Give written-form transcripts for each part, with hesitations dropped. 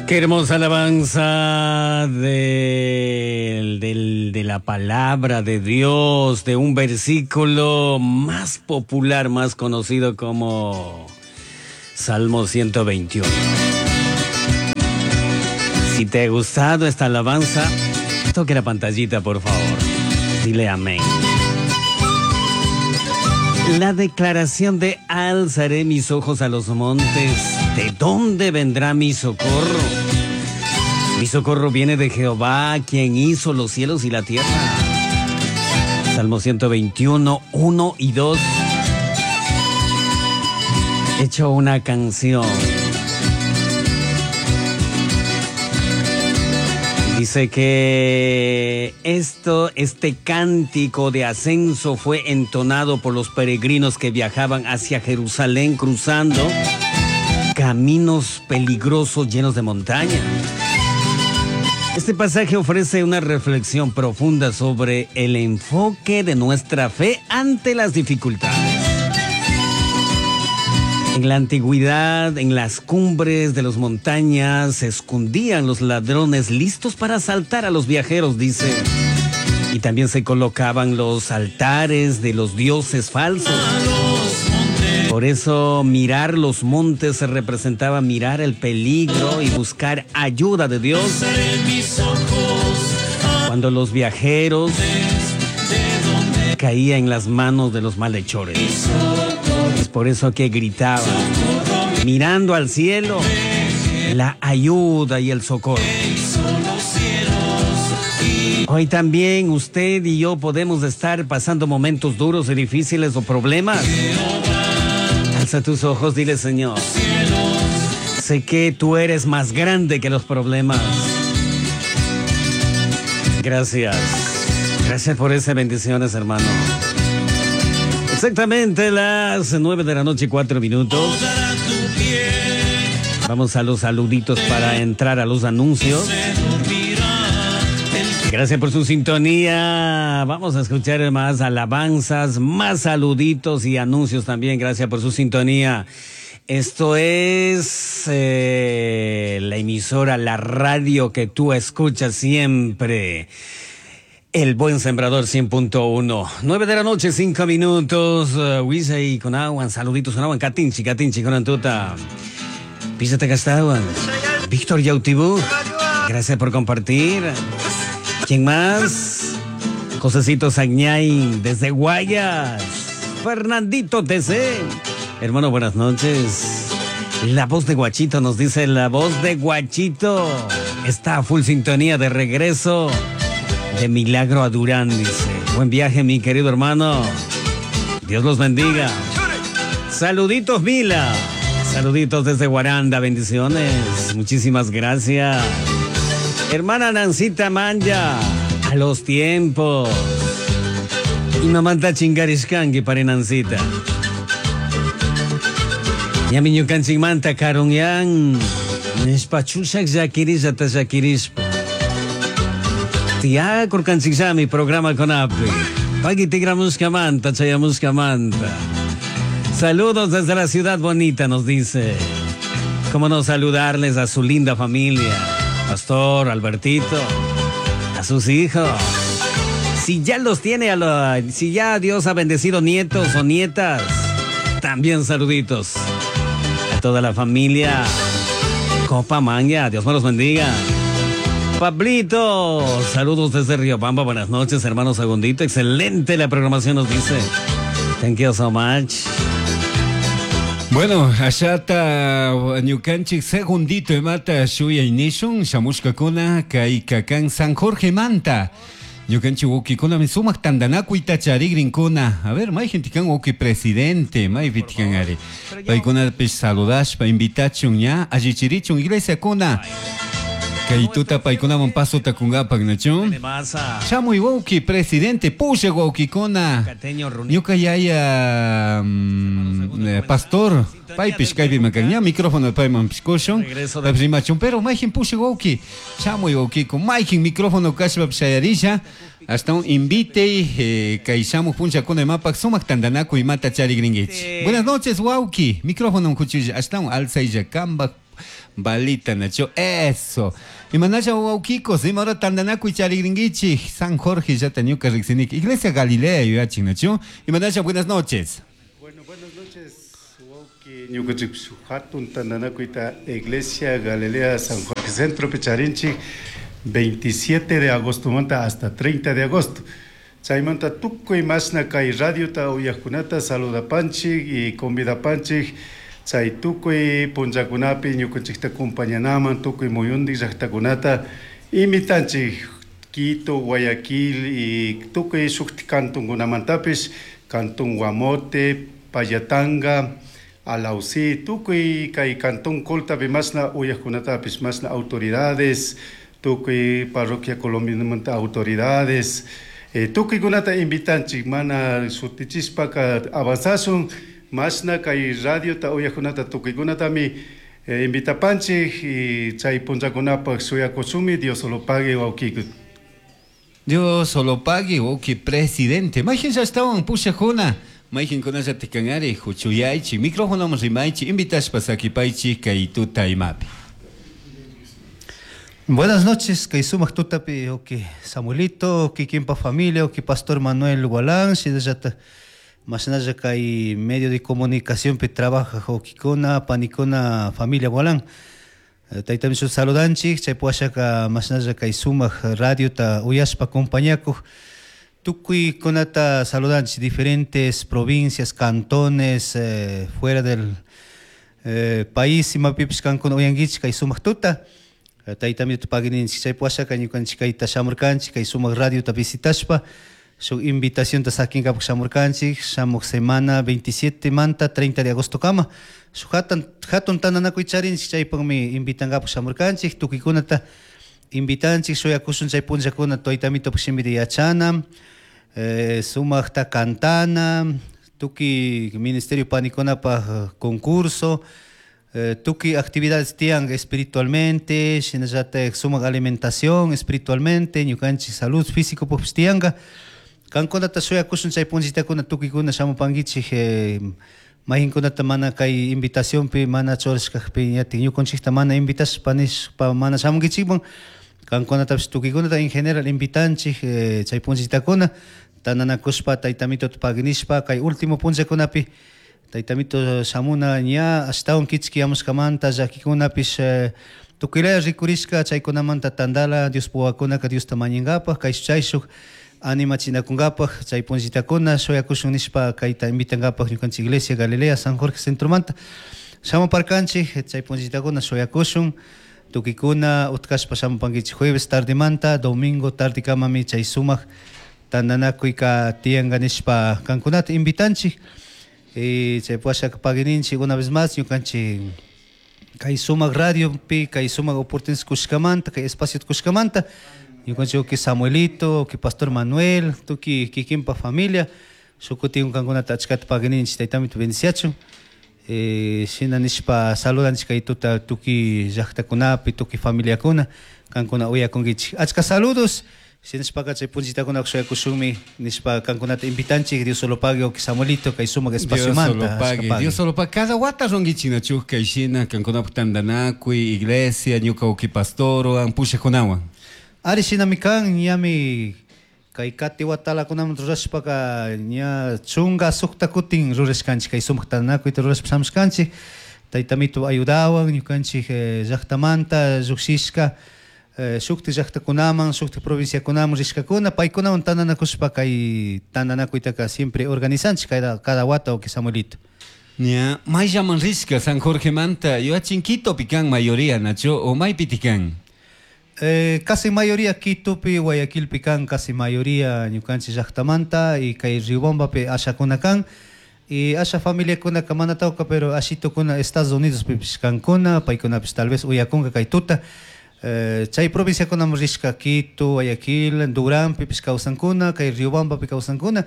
Qué hermosa alabanza de la palabra de Dios, de un versículo más popular, más conocido como Salmo 121. Si te ha gustado esta alabanza, toque la pantallita, por favor. Dile amén. La declaración de alzaré mis ojos a los montes. ¿De dónde vendrá mi socorro? Mi socorro viene de Jehová, quien hizo los cielos y la tierra. Salmo 121, 1 y 2. He hecho una canción. Dice que este cántico de ascenso fue entonado por los peregrinos que viajaban hacia Jerusalén cruzando caminos peligrosos llenos de montaña. Este pasaje ofrece una reflexión profunda sobre el enfoque de nuestra fe ante las dificultades. En la antigüedad, en las cumbres de las montañas, se escondían los ladrones listos para asaltar a los viajeros, dice. Y también se colocaban los altares de los dioses falsos. Por eso mirar los montes representaba mirar el peligro y buscar ayuda de Dios. Cuando los viajeros caían en las manos de los malhechores. Es por eso que gritaba, mirando al cielo, la ayuda y el socorro. Hoy también usted y yo podemos estar pasando momentos duros y difíciles o problemas. Alza tus ojos, dile, Señor, sé que tú eres más grande que los problemas. Gracias. Gracias por esas bendiciones, hermano. Exactamente las 9 de la noche, 4 minutos. Vamos a los saluditos para entrar a los anuncios. Gracias por su sintonía. Vamos a escuchar más alabanzas, más saluditos y anuncios también. Gracias por su sintonía. Esto es la emisora, la radio que tú escuchas siempre. El Buen Sembrador 100.1. 9 de la noche, 5 minutos. Huisa con agua, saluditos con agua. Katinchi, katinchi con antuta. Písate gastaban. Víctor Yautibú, gracias por compartir. ¿Quién más? Josecito Sagñay, desde Guayas. Fernandito TC. Hermano, buenas noches. La voz de Guachito nos dice, la voz de Guachito está a full sintonía de regreso de Milagro a Durán, dice. Buen viaje, mi querido hermano. Dios los bendiga. Saluditos, Mila. Saluditos desde Guaranda, bendiciones. Muchísimas gracias. Hermana Nancita Manja, a los tiempos. Y mamanta chingarishkangi para Nancita. Yamiñukanchikmanta karunyan. Nishpa chushak llakirisha llakirishpa. Tía kurkanchikllami programa con api. Pagui tigramushkamanta, chayamushkamanta. Saludos desde la ciudad bonita, nos dice. Cómo no saludarles a su linda familia. Pastor, Albertito, a sus hijos. Si ya los tiene, si ya Dios ha bendecido nietos o nietas, también saluditos a toda la familia Copa Manga. Dios me los bendiga. Pablito, saludos desde Riobamba. Buenas noches, hermano Segundito. Excelente la programación, nos dice. Thank you so much. Bueno, allá ñukanchik segundito imata shuya inishun shamushkakuna kay kakan San Jorge Manta. Ñukanchik wawqikunami sumaq tantanakuyta charigrinkuna. A ver, mayqin kan wawqi presidente, maypitikan ari. Paykunapish saludashpa invitachun ña allichirichun iglesiakuna. Kay tuta paykunaman pasota kungapak nachun. Shamuy wawqi presidente, pusha wawqikuna. Ñuka yaya pastor, paypish kaypi makan ña micrófono payman pishkushun. Paypish rimachun, pero mayqin pusha wawqi. Shamuy wawqiku, mayqin micrófono kashpa shayarisha. Hasta un invite kay shamuq punchakuna imapak sumaq tantanakuy imata charigrinkichik. Buenas noches wawqi, micrófono kuchulla, hasta un alzaylla kambak. Balita nacho eso. Imanalla wawkikos, imahora tandanakuy charigrinkichik San Jorge llata ñuka riqsinik Iglesia Galilea yuyachin nacho. Imanalla buenas noches. Bueno, buenas noches, wawki ñukanchik hatun tandanakuyta Iglesia Galilea San Jorge Centro charinchik 27 de agosto manta hasta 30 de agosto. Chaymanta tukuy mashna kay radiota uyaqkunata saludapanchik y convidapanchik chay tukuy punllakunapi ñukanchikta acompañanaman tukuy muyundik llaqtakunata invitanchik Quito, Guayaquil y tukuy shukti cantonkunamantapis, cantón Guamote, Pallatanga, Alausí, tukuy kay cantón Coltapi mashna uyaqkunatapis, mashna autoridades, tukuy parroquia colombianamanta autoridades, tukuykunata invitanchik mana shutichishpaka avanzasun mashna kay radiota uyaqkunata tukuykunatami invitapanchik y chay punllakunapaq shuyakushunmi Dios solo pague wawkiku. Dios solo pague, wawki presidente. Mayqin llaqtawan pushaqkuna, mayqinkunalla tikanari huchuyaychik, microfonoman rimaychik, invitashpa sakipaychik kay tuta imapi. Buenas noches, kay sumaq tutapi wawki Samuelito, kikinpa familia, wawki Pastor Manuel Gualán, shinallata mashnalla kay medio de comunicación pi trabaja wawkikuna, panikuna, familia Gualán. Taytami shuk saludanchik, chay puashaka mashnalla kay sumaq radiota uyashpa acompañakuq tukuykunata saludanchik diferentes provincias, cantones, fuera del país imapipish kankuna uyankichik kay sumaq tuta. Taytami paguininchik chay puashaka ñukanchik kayta shamurkanchik kay sumaq radiota visitashpa shuk invitacionta sakinkapak shamurkanchik shamuq semana 27 manta 30 de agosto kama shuk hatun tandanakuy charinchik chaypaqmi invitankapak shamurkanchik tukuykunata invitanchik shuyakushun chay punllakuna taytamitopak shimita yachana, sumaqta cantana, tukuy ministerio panikunapaq concurso, tukuy actividades tiyan espiritualmente, shinallatak sumaq alimentación espiritualmente, ñukanchik salud físico pukpis tiyanka. Kankunata shuyakushun chay punllitakuna tukuykuna shamupankichik, mayqinkunata mana kay invitacionpi mana churashkakpi ñatik ñukanchikta mana invitashpa nishpa mana shamunkichikman, kankunatapish tukuykunata en general invitanchik, chay punllitakuna tandanakushpa taytamitota paginishpa kay último punllakunapi taytamito shamuna ña ashtawan kichkiyamushkamanta llakikunapish, tukuylaya rikurishka chaykunamanta tandala Dios wawakunaka Diosta mañankapak kay chayshuk animachinakunkapaq chay punllitakuna shuyakushun nishpa kayta invitankapak ñukanchik Iglesia Galilea San Jorge Centromanta shamuparkanchik chay punllitakuna shuyakushun tukuykuna utkashpa shamupankichik jueves tardemanta domingo tardekamami chay sumaq tandanakuyka tiyanka nishpa kankunata invitanchik. Y chay puashaka paguininchik una vez más ñukanchik kay sumaq radiopi kay sumaq oportunidad kushkamanta kay espacio kushkamanta ñukanchik wawki Samuelito, wawki Pastor Manuel, tukuy kikinpa familia shukutin kankunata achkata paguininchik taytamito bendiciachun. Shina nishpa saludanchik kay tuta tukuy llaqtakunapi tukuy familiakuna kankuna uyakunkichik achka saludos. Shinashpaka chay punllitakuna shuyakushunmi nishpa kankunata invitanchik Dios solo pague wawki Samuelito kay sumaq Dios solo espaciomanta. pague, Dios solo pague. Cada wata runkichik nachuk kay shina kankunapaq tandanakuy iglesia ñuka wawki pastorwan pushaqkunawan. Ari shinami kan ñami kay kati watalakunaman rurashpaka ña chunka sukta kutin rurashkanchik kay sumaq tandanakuyta rurashpa shamushkanchik taytamito ayudawan ñukanchik llaqtamanta lluqshishka, shukti llaqtakunaman shukti provinciakunaman rishkakuna paykunawan tandanakushpa kay tandanakuytaka siempre organizanchik cada wata wawki Samuelito. Ña mayllaman rishka San Jorgemanta yuachin Quitopi kan mayoría nacho o maypiti kan? Casi mayoría Quitopi, Guayaquilpi kan, casi mayoría ñukanchik llaqtamanta y kay Riobambapi ashakuna kan y asha familiakuna mana tawka pero ashitukuna Estados Unidos pipish kankuna paykunapish tal vez uyakunka kay tuta. Chay provinciakunaman rishka Quito, Guayaquil, Durán pipish kawsankuna, kay Riobambapi kawsankuna.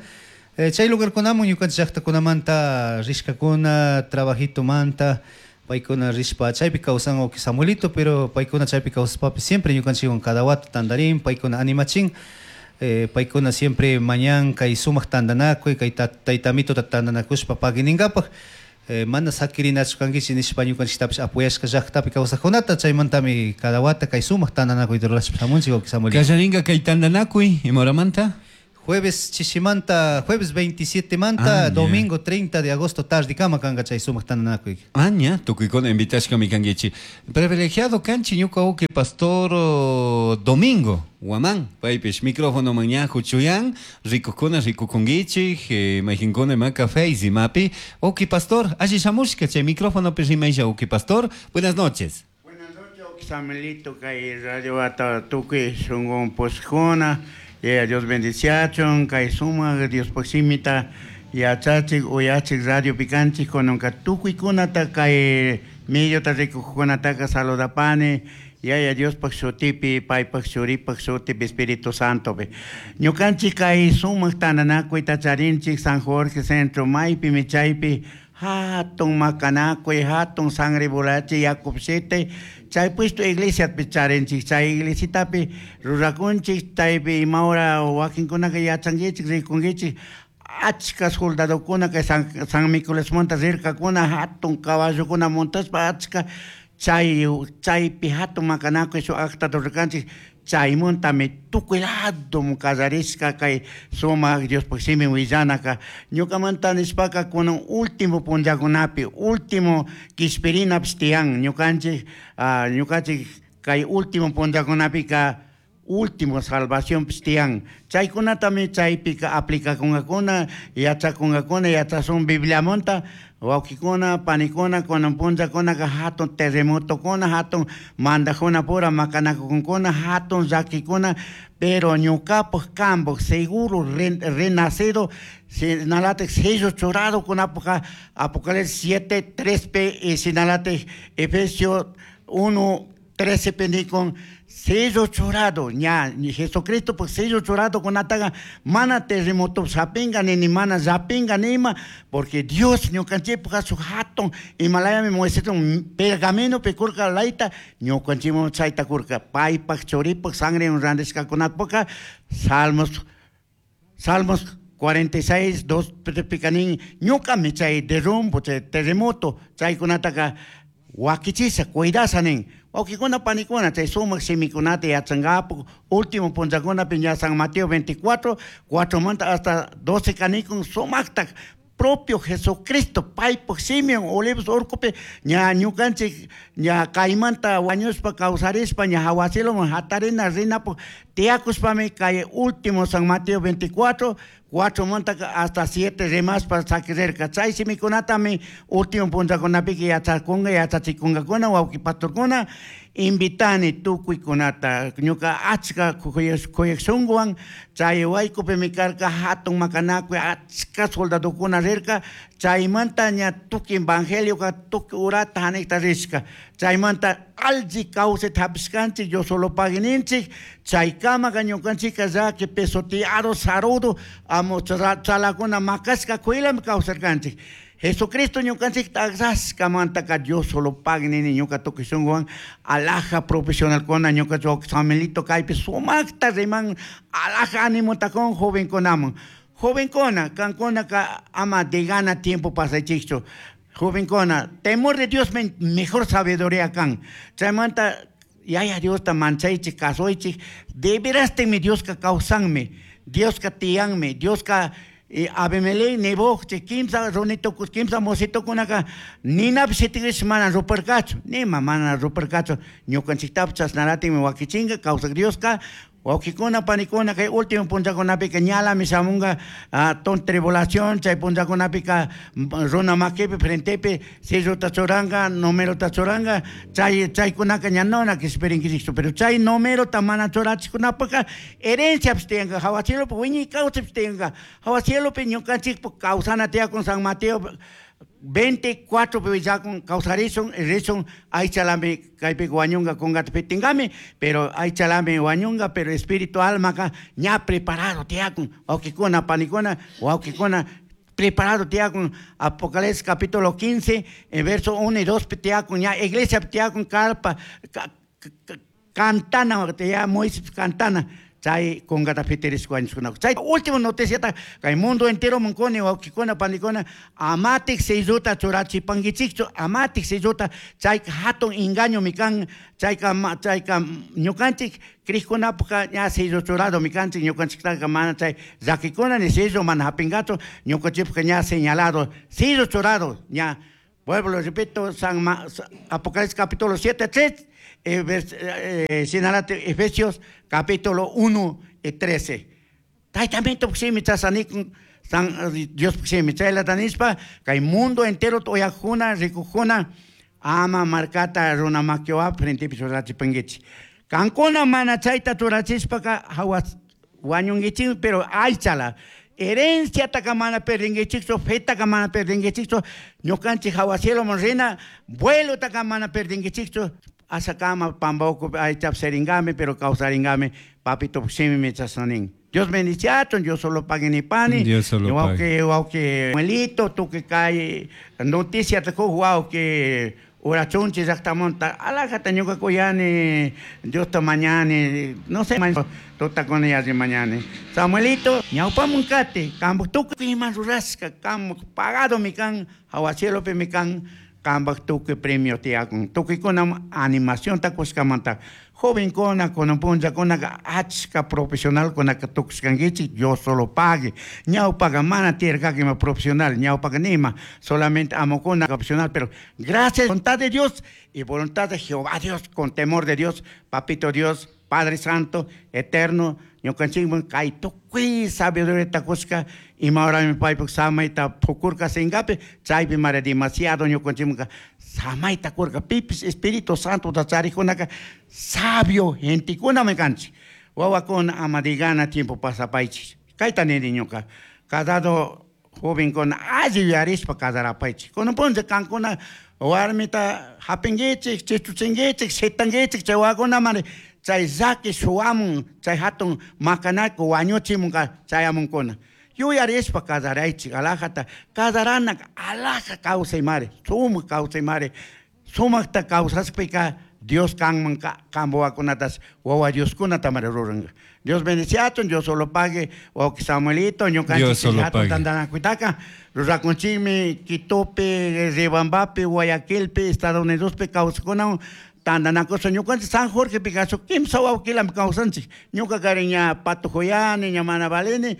Chay lugarkunaman ñukanchik llaqtakunamanta rishkakuna, trabajitomanta, paykuna rishpa chaypi kawsan wawki Samuelito, pero paykuna chaypi kawsaspapi siempre ñukanchikwan cada wata tandarin, paykuna animachin, paykuna siempre mañan kay sumaq tandanakuy, kay taytamitota tandanakushpa paguininkapak. Mana sakirinachu kankichik nishpa ñukanchiktapish apoyashka llaqtapi kawsaqkunata, chaymantami cada wata kay sumaq tantanakuyta rurashpa shamunchik, wawqi Samuel. Kallarinka kay tantanakuy, ima horamanta? Jueves chishimanta, jueves 27 manta, domingo 30 de agosto tardekama kanka chay sumaq tantanakuy. Aña, tukuykuna invitashkami kankichik. Privilegiado kanchik ñuka wawqi pastor Domingo Guamán, paypish micrófono ña huchuyan, rikukkuna rikukunkichik, mayqinkuna imaka Face imapi. Wawqi pastor, alli shamushka chay micrófonopi rimaylla, wawqi pastor. Buenas noches. Buenas noches, wawqi Samuelito, kay radio wata tukuy shunqun pushkuna. Yaya Dios bendiciachun, kay sumaq Diospaq simita yachachik, uyachik radio pikanchik, kunanka tukuykunata kay mediota rikuqkunataka saludapani, Yaya Diospaq shutipi, paypaq churipaq shutipi, Espíritu Santopi. Ñukanchik kay sumaq tantanakuyta charinchik San Jorge Centro, maypimi chaypi hatun makanakuy, hatun sangre volachi, yakup shitay, chay puesto iglesiapi charinchik, chay iglesitapi rurakunchik, chaypi ima hora wakinkunaka yachankichik, rikunkichik, achka soldadokuna kay San Nicolásmanta rirkakuna, hatun caballokuna montashpa achka chaypi hatun makanakuy shuk acta rurarkanchik, chaymantami tukuy lado kallarishka kay sumaq Diospaq simin willanaka. Ñukamanta nishpaka kunan último punllakunapi, último kishpirinapish tiyan, ñukanchik kay último punllakunapika último salvación tiyan. Chaykunatami chaypika aplikakunkakuna, yachakunkakuna, yachasun Bibliamanta, wawqikuna, panikuna, kunan punllakunaka hatun terremotokuna, hatun mandajuna pura makanakunkuna, hatun llakikuna, pero ñukapak kanpak seguro renacido, sinalatik sello churado kunapaka Apocalipsis 7, 3 p, y sinalatik Efesios 1, 13 p nikun sello churado, ña, ni Jesucristo pues sello churado kunataga mana terremoto sapinga ni mana zapinga nima, porque Dios ñukanchipaj su hatun Himalaya mi Moisés un pergamino pekurka laita ñukanchimo chayta kurka paypaj churipaj sangre un randishka kunatpoka Salmos 46, 2 picanín ñukami chay derrumbo, chay terremoto chaykunataka wakichisa, cuidasa nin. Wawqikuna, panikuna, chay sumaq simikunata yachankapu, último punllakunapi ña San Mateo 24, 4 manta hasta 12 kanikun sumaqta propio Jesucristo paypaq Simeón Olivos urkupi ña ñukanchik ña kaymanta wañuspa kawsarispa ña hawa cieloman hatarina rinapaq tiyakushpami kay último San Mateo 24, 4 manta hasta 7 rimaspa sakirirka. Chay simikunatami último punllakunapika yachakunka, yachachikunkakuna, wawqi pastorkuna, invitani tukuykunata ñuka achka kuyaq shunkuwan chay waykupimi karka hatun makanakuy achka soldadokuna rirka chaymanta ña tukuy evangelioka tukuy urata hanikta rishka chaymanta alli kawsayta hapishkanchik Dios solo paguininchik chaykamaka ñukanchikka llaki pisoteado sarudo amo chalakuna makashka kuylami kawsarkanchik. Jesucristo ñukanchikta akrashkamantaka Dios solo pague nini ñuka tukuy shunkuwan alaja profesionalkuna ñuka Samuelito kaypi sumakta riman alaja animota kun jovenkunaman. Jovenkuna, kankunaka ama de gana tiempo pasaychikchu. Jovenkuna, temor de Dios mejor sabiduría kan. Chaymanta yaya Diosta manchaychik, kasuychik, de veras mi Dioska kawsanmi, Dioska tiyanmi, Dioska Abimelech, Nebo, che kimsa runito, kimsa mosito kunaka, nina sitigrish mana ruparkachu, nima mana ruparkachu, ñukanchiktapis chashnaratikmi wakichinka, kawsak Dioska, wawqikuna, panikuna, kay último punllakunapika ñalami shamunka, ton tribulación, chay punllakunapika, runa makipi, frentepi, selluta churanka, numerota churanka, chaykunaka ña nona kishpirinkichikchu, pero chay numerota mana churachikkunapaka, herenciapis tiyanka, hawa cielopi wiñay kawsaypis tiyanka, hawa cielopi ñukanchikpak kawsana tiyakun San Mateo 24 pi willakun kawsarishun, rishun, aychalami kaypi wañunka kunkata pitinkami, pero aychalami wañunka, pero espíritu almaka ña preparado tiyakun, wawqikuna, panikuna, wawqikuna, preparado tiyakun, Apocalipsis capítulo 15, en verso 1 y 2 tiyakun, ña iglesia tiyakun carpa, cantana, ya Moisés cantana, Chay kungata fitirishpa wañushkuna. Chay último noticiata kay mundo entero munkuni wawqikuna panikuna amatik selluta churachipankichikchu, amatik selluta, chayka hatun engañomi kan, chayka chayka ñukanchik crijkunapaka ña sello churadomi kanchik, ñukanchiktaka mana chay llakikuna ni sello mana hapinkachu, ñukanchikpaka ña señalado, sello churado, ña. Vuelvo, repito, Apocalipsis capítulo 7, 3, sinalate Efesios capítulo 1 y 13. Taytamento puksimi chasanikun, San Dios puksimi chayla kay mundo entero oyajuna, rikujuna, ama markata runa makiwa frente churachipankichik. Kankuna mana chayta churachishpaka hawa wañunkichik, pero aychala. Herencia mana perdinkichikchu, fetaka mana perdinkichikchu, ñukanchik hawa cielo rina, vuelo taka mana perdinkichikchu, asakama pambauku aychap seringame, pero kawsaringame, papito puksimi chasanin. Dios bendiciaton, Dios solo pague ni pani. Dios solo pague. Wauki, Muelito, tu que cae noticia te wau que urachunchi llaqtamunta, alajata ñuka kuyani, Dios ta mañani, no sé, tuta con ella de mañana. Samuelito, ñawpamun kati, kambuk tukuy ima rurashka, kambuk pagado mi kan, hawa cielopi mi kan, kambuk tukuy premio tiyakun. Tukuykuna animación ta kushkamanta. Joven kona, kunan punlla kona, achka profesional kona ka tukushkankichik, Dios solo pague. Ñawpaga mana tiyarkaki ima profesional, ñawpaga nima, solamente amokuna profesional, pero gracias, voluntad de Dios y voluntad de Jehová Dios, con temor de Dios, Papito Dios, Padre Santo, Eterno, ñukanchikman kay tukuy sabiduría kushka, ima horami paypak samayta pukurka singapi, chaypi mara demasiado ñukanchikmanka samayta kurka, pipis Espíritu Santo ta charikunaka sabio gentekunami kanchik. Wawakuna ama digana tiempo pasapaychik. Kayta nini ñuka, casado jovenkuna alli yuyarishpa casarapaychik. Kunan punlla kankuna warmita hapinkichik, chichuchinkichik, shitankichik, chay wawakunamari chay llaki shuwamun, chay hatun makanaku wañuchimunka chayamunkuna. Yuyarishpa casaraychik, alajata casaranaka alaja kawsaymari, sumak kawsaymari, sumakta kawsashpika Dios kanman kanpa wawakunatas wawa Dioskunata mari ruranka. Dios bendiciachun, Dios solo pague, wawqi Samuelito, ñukanchik Dios solo hatun pague. tantanakuytaka rurakunchikmi Quitopi, Riobambapi, Guayaquilpi, Estados Unidospi kawsakunawan tantanakuspa ñukanchik San Jorgepi kasu kimsa wawqilami kawsanchik. Ñuka kari ña patujoyani, ña mana valini,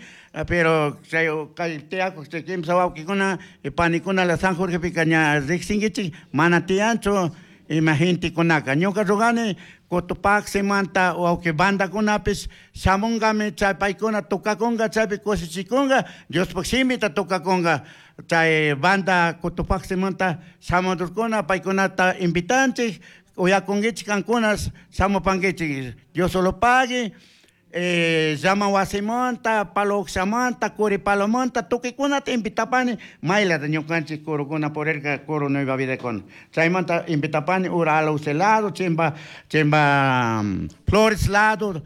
pero chay kay tiyakuq chay kimsa wawqikuna y panikuna la San Jorgepika ña riqsinkichik, mana tiyanchu ima gentekunaka. Ñuka rugani Cotopaximanta wawqi bandakunapis shamunkami chay paykuna tukakunka, chaypi kushichikunka, Diospaq shimita tukakunka. Chay banda Cotopaximanta shamudurkuna paykunata invitanchik, uyakunkichik kankuna shamupankichik. Dios solo pague. Llama wasimanta, palo ukshamanta, curi palomanta, tukuykunata invitapani, maylata ñukanchik kurukuna purirka, kuru nueva vida kuna. Chaymanta invitapani ura alauce lado, chimba, chimba, Flores lado,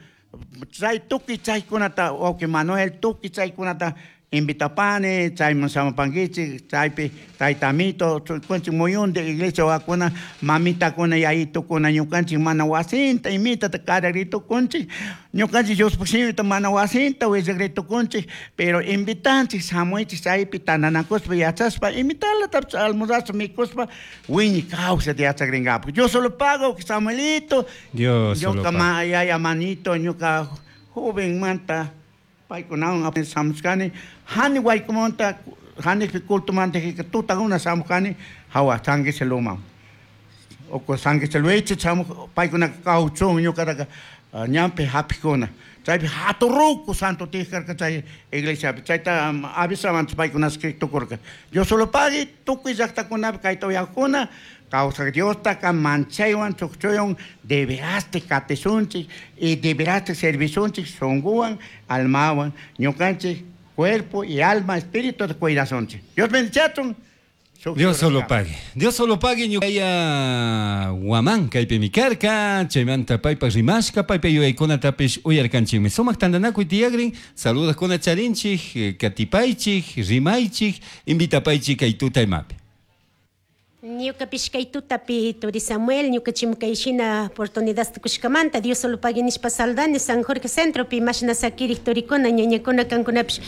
chay tukuy chaykunata, wawqi Manuel, tukuy chaykunata invitapani, chayman shamupankichik, chaypi taytamito, ñukanchik muyunti iglesia wawakuna, mamitakuna, yayitukuna, ñukanchik mana wasinta, imitata kararitukunchik, ñukanchik Diospaq shimita mana wasinta willakritukunchik, pero invitanchik, shamuychik chaypi tantanakuspa yachashpa, imitalatapish almorzashpa, mikuspa, wiñay kawsayta yachakrinkapak. Dios solo pago, Samuelito, Dios solo ñuka pago. yaya manito, ñuka jovenmanta, paykunawan shamushkani, hani waykumanta, hanikpi cultumanta tutakuna shamushkani, hawa Sanguiseluman. Oko Sanguiseluichi shamuj, paykunaka kawchun ñukataka, ñanpi hapikuna. Chaypi haturruku santo tijkarka chay iglesiapi. Chayta, avisamanchik paykuna escritukurka. Dios solo pague, tukuy llaqtakunapi kayta uyakuna, kawsaq Diostaka manchaywan chukchuywan deberaste katisunchik y deberaste servisunchik shunguwan, almawan, ñukanchik cuerpo y alma, espíritu cuidasunchik. Dios bendiciachun. Dios solo pague. Dios solo pague ñuqaya Guamán kaypi mikarka, chaymanta paypa rimashka, paypa yuyaykunatapish uyarkanchikmi. Sumaq tantanakuy tiyakrin, saludakuna charinchik, katipaychik, rimaychik, invitapaychik kay tuta imapi. Ñukapish kay tutapi turi Samuel, ñuka kay shina oportunidad kushkamanta, Dios solo pagui nishpa saludani San Jorge Centropi mashna sakirik turikuna, ñañakuna kankunapish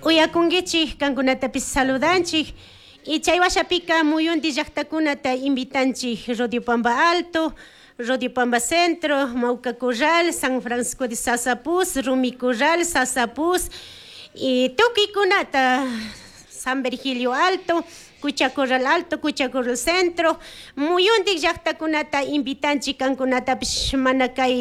uyakunkichik, kankunatapish saludanchik. Y chay washapika muyunti llaqtakunata invitanchik Rodio Pamba Alto, Rodio Pamba Centro, Mauca Corral, San Francisco de Sasapuz, Rumi Corral, Sasapuz, y tukuykunata San Virgilio Alto, Cucha Corral Alto, Cucha Corral Centro, muyuntik llaqtakunata invitanchik kankunatapish mana kay.